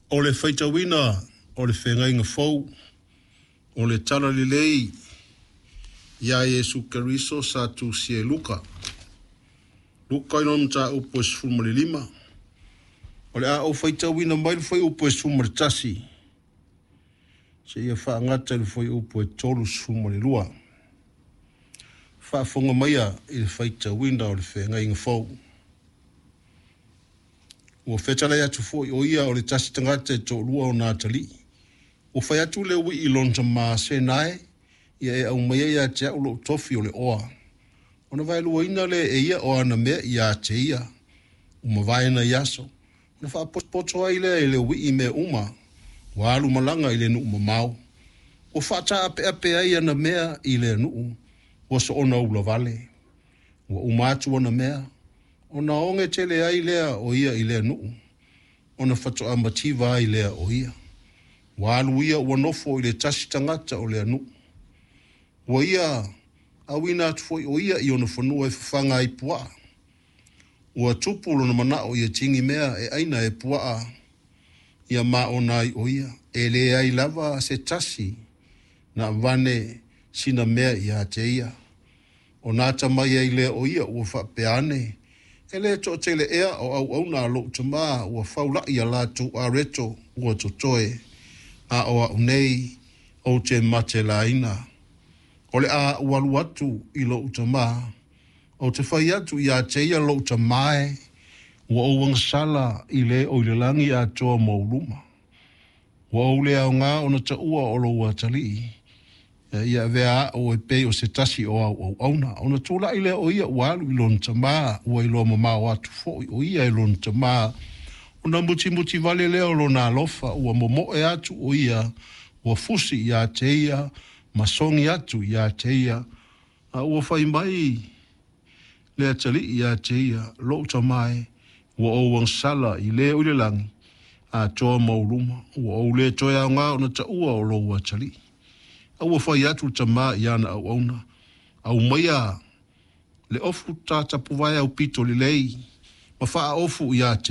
O le faitauina o le Feagaiga Fou o le Tala Lelei ia Iesu Keriso sa tusia e Luka. Luka i lona mataupu e 15. O le a ou faitauina mai le fuaiupu e 11 seia faagata i le fuaiupu e 32. Faafofoga maia i le faitauina o le Feagaiga Fou. Ua fetalai atu foi o ia o le tasi tagata e toalua ona atalii. Ua fai atu le uii i lona tamā, “Sena e, ia e aumaia ia te a'u lo'u tofi o le oa.” Ona vaeluaina lea e ia o ana mea ia te ia. Ua mavae nai aso, ona faapotopoto ai lea e le uii mea uma, ua alu malaga i le nuu mamao. Ua faataapeape ai ana mea i lea nuu, ua soona ulavale. Ua uma atu ana mea, ona oge tele ai lea o ia i lea nuu, ona faatoa mativa ai lea o ia. Ua alu ia ua nofo i le tasi tagata o lea nuu. Ua ia auina atu foi o ia i ona fanua e fafaga ai puaa. Ua tupu lona manao ia tigi mea e aina e puaa ia maona ai o ia. E leai lava se tasi na avane sina mea ia te ia. Ona atamai ai lea o ia ua faapea ane, “E le toatele ea o auauna a lo'u tamā ua faula'i a latou areto ua totoe, a o a'u nei ou te matelaina? O le a ou alu atu i lo'u tamā, ou te fai atu ia te ia, Lo'u tamā e, ua ou agasala i le o i le lagi atoa ma ou luma. Ua ou le aogā ona taua o lou atalii. Ia avea a'u e pei o se tasi o au auauna.” Ona tula'i lea o ia ua alu i lona tamā, ua iloa mamao atu fo'i o ia e lona tamā. Ona mutimuti vale lea o lona alofa, ua momo'e atu o ia, ua fusi ia te ia, ma sogi atu ia te ia. A ua fai mai le atalii ia te ia, “Lo'u tamā e, ua ou agasala i le o i le lagi atoa ma ou luma. Ua ou le toe aogā ona taua o lou atalii.” A ua fai atu le tamā i ana auauna, “Aumaia le ofu tatapuvae aupito lelei, ma faaofu ia te